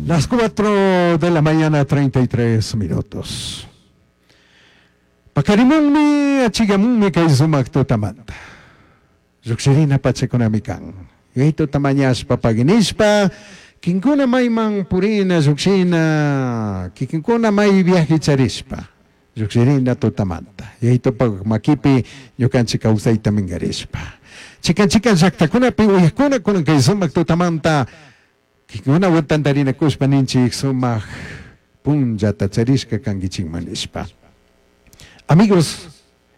Las 4 de la mañana, 33 minutos. Paqarimunmi, achigamunmi kay sumak tutamanta. Llukshirina pachakunami kan. Yayituta mañashpa paginishpa, kinkuna mayman purina llukshina, kikinkuna may viaje charishpa, llukshirina tutamanta. Yayitupak makipi ñukanchik kawsayta minkarishpa. Chikan chikan llaktakunapi uyakuna kunan kay sumak tutamanta kikinkuna tantarinakushpa ninchik sumak punllata charishka kankichikman nishpa. Amigos,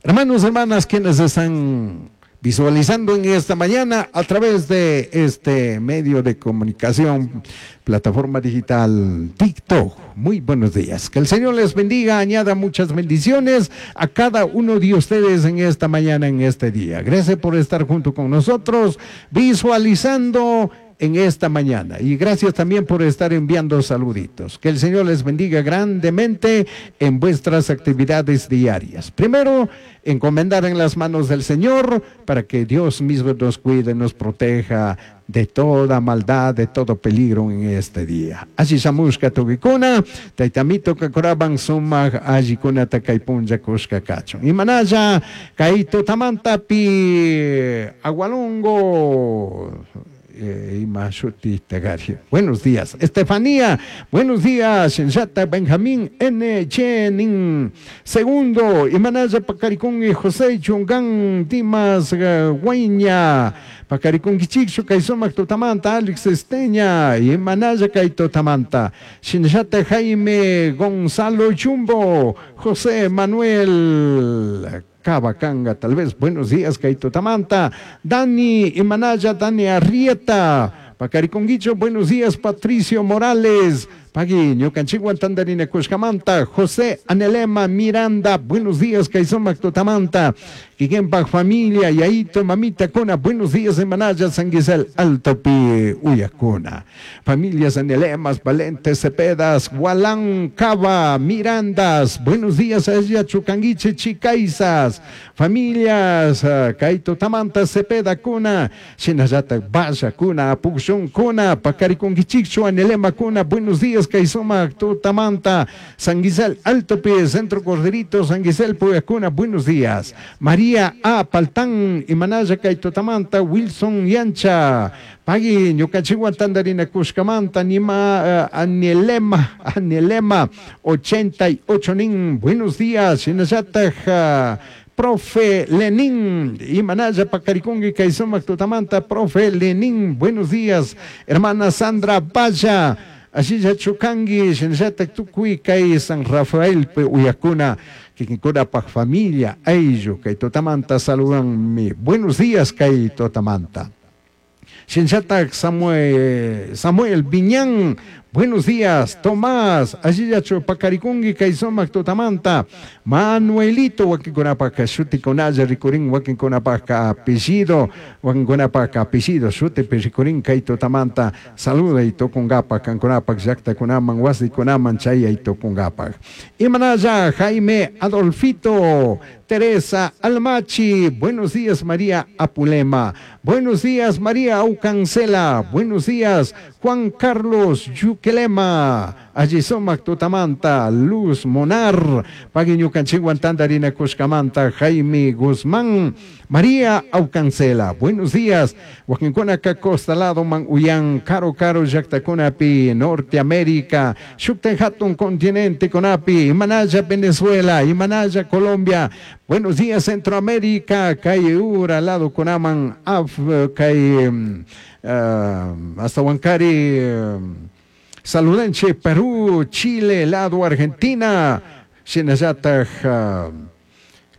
hermanos, hermanas, quienes están visualizando en esta mañana a través de este medio de comunicación, plataforma digital TikTok. Muy buenos días. Que el Señor les bendiga, añada muchas bendiciones a cada uno de ustedes en esta mañana, en este día. Gracias por estar junto con nosotros, visualizando en esta mañana. Y gracias también por estar enviando saluditos. Que el Señor les bendiga grandemente en vuestras actividades diarias. Primero, encomendar en las manos del Señor para que Dios mismo nos cuide, nos proteja de toda maldad, de todo peligro en este día. Alli shamushka tukikuna, taytamito kakoraban sumak allikuna kay punlla kushka kachun. Imanalla kay tutamantapi Agualongo ima shuti tagari. Buenos días, Estefanía. Buenos días, Shinshata Benjamín N. Chenin. Segundo, Imanaya Pacaricún y José Chungán Dimas Guaña. Pacaricún Kichikchu Kaysumak Tutamanta, Alex Esteña, Imanaya Kaitotamanta. Shinshata Jaime Gonzalo Chumbo, José Manuel Cabacanga, tal vez. Buenos días, Kaito Tamanta. Dani Imanaya, Dani Arrieta. Pacariconguicho, buenos días, Patricio Morales. Pagui, ñukanchikwan tandarina kushkamanta, José Anelema Miranda, buenos días, Kaysumak Tutamanta. Kikinpak familia, Yaito, Mamita Kuna, buenos días, Imanaya, San Gisel, Alto Pi, Uyakuna. Familias Anelemas, Valentes, Cepedas, Gualán, Cava, Mirandas, buenos días, Ella, Chucanguiche, Chicaizas. Familias, Kaito Tamanta, Cepeda, Kuna, Shinayata, Vaya, Kuna, Apuxón, Kuna, Pacariconguichicho, Anelema, Kuna, buenos días, Kaisuma, Tutamanta, San Gisel, Alto Pie, Centro Corderito, San Gisel, Puyacuna, buenos días. María A. Paltán, Imanaya, Kaitotamanta, Wilson Yancha, Pagui, ñukanchikwan tandarina kushkamanta, Nima, Anelema, Anelema, 88 nin, buenos días, Shinayata, Profe Lenín, Imanaya Pacaricongi, Kaisumak Tutamanta, Profe Lenín, buenos días, hermana Sandra Valla, Asilla Chucangui, Shinayata Tukui, Kay San Rafael, Uyakuna, Kikinkuna pa familia, Ayllu, Kay Totamanta, saludan buenos días, Kay Totamanta. Shinchatak Samuel, Samuel Viñán, buenos días, Tomás, Ashillacho Pacaricungui, Kaisomak Totamanta, Manuelito, Wakinkunapaka, Shuti Konaya, Ricurín, Wakinkunapaka, apellido, Wakinkunapaka, apellido, Shuti Pericurín, Kay Totamanta, saluda y Tocungapa, Cancunapak, Yacta Kunaman, Wasi Kunaman, Chaya y Tocungapak. Imanaya, Jaime Adolfito, Teresa Almachi, buenos días María Apulema, buenos días María Aucancela, buenos días Juan Carlos Yuquelema, Allisomac Tutamanta, Luz Monar, Paguiñucanchiguan Tandarina Cuscamanta, Jaime Guzmán, María Aucancela, buenos días, Huaquincuna Costa Lado, Man Uyan, Caro Caro, Yactacunapi, Norteamérica, Xuctenjatun Continente Conapi, Imanaya, Venezuela, Imanaya, Colombia, buenos días Centroamérica, Cayura, Lado Conaman, Af, Cay, hasta Huancari, Saludenche, Perú, Chile, Lado, Argentina, Shinayata,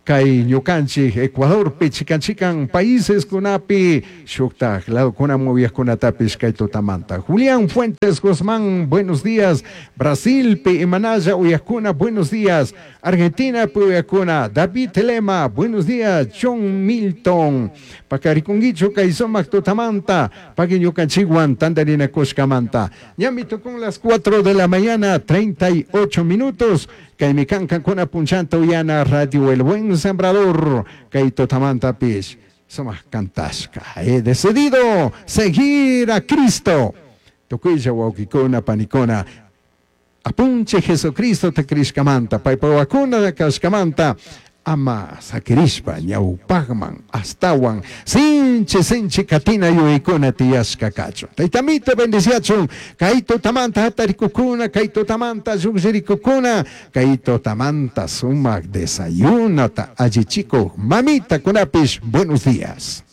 Kay ñukanchik, Ecuador, pichikanchikan, países kunapi, shuktaj, lado kuna kunatapis kay tutamanta. Julián Fuentes Guzmán, buenos días. Brasil, pi Imanaya, uyakuna, buenos días. Argentina, pi uyakuna. David Lema, buenos días. John Milton, Pacariconguicho, Kaisomac tutamanta, Pagui ñukanchikwan, tandarina kushkamanta. Ñamito con las 4 de la mañana, 38 minutos. Kaymi kan kankuna punchanta uyana Radio El Buen Sembrador, kay tutamanta pish, sumak kantashka. He decidido seguir a Cristo. Tukuylla wawkikuna panikuna apunchik Jesucristota crishkamanta paypa wawakuna kashkamanta ama sakirishpa ñawpakman astawan sinchi sinchi katina yuyaykuna tiyashka kachun. Taytamito bendiciachun kay tutamanta hatarikukuna kay tutamanta llukllirikukuna kay tutamanta sumak desayunata allichikuq mamitakunapish buenos días.